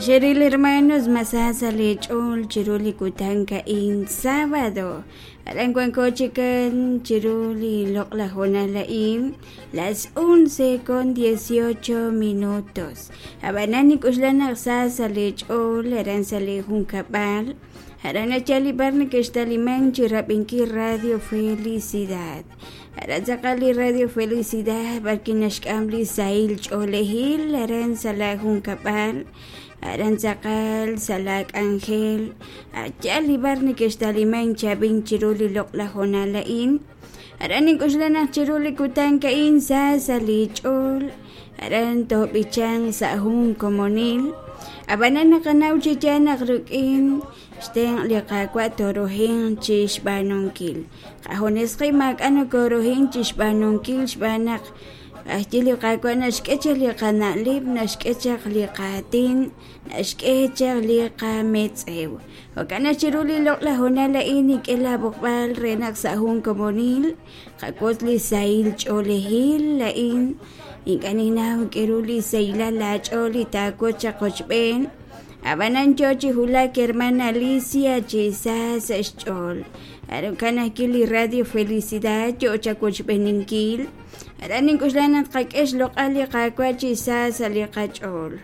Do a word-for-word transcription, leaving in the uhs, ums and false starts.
Xeril hermanos, masa sa leech'ool chiru li kutan a'in sábado. Aran wanko chikan chiru li loq'laj hoonal a'in las once con dieciocho minutos. Ab'anan nik'uxlan naq sa sa leech'ool aran sa li junkab'al. Aran achal li bar nekextaliman chi rab'inkil Radio Felicidad. Aran tz'aqal li Radio Felicidad b'arki naxk'am li sahil ch'oolejil aran sa la junkab'al. Aran tz'aqal sa la k'anjel ayal li bar nekextaliman chab'in chiru li loq'laj hoonal a'in. Aran nink'uxlan naq chiru li kutan a'in sa sa li ch'ool aran toob'ichan sa jun komonil. Ab'anan naqanaw chi yaal naq rik'in xtenq' li Qaawa' toorujin chi xb'aanunkil. Qajunes qib' maak'a' nokooruhin chi xb'aanunkil xb'aan naq ajyi li Qaawa' naxk'e chaq li qana'leb', naxk'e chaq li qaatin, naxk'e chaq li qametz'ew. Jo'kan naq chiru li loq'laj hoonal a'in nink'e laab'oqb'al re naq sa' jun komonil qawotz li sahil ch'oolejil a'in. Ink'a' ninnaw k'eru li sahilal laach'ool li taawotz chaq qochb'een. Ab'anan yo chi wulak hermana Alicia chi sa sa' xch'ool. Aran ajwi' li Radio Felicidad yo chawochb'eninkil. Aran nink'uxlan naq tqak'e xloq'al li Qaawa' chi sa sa' li qach'ool.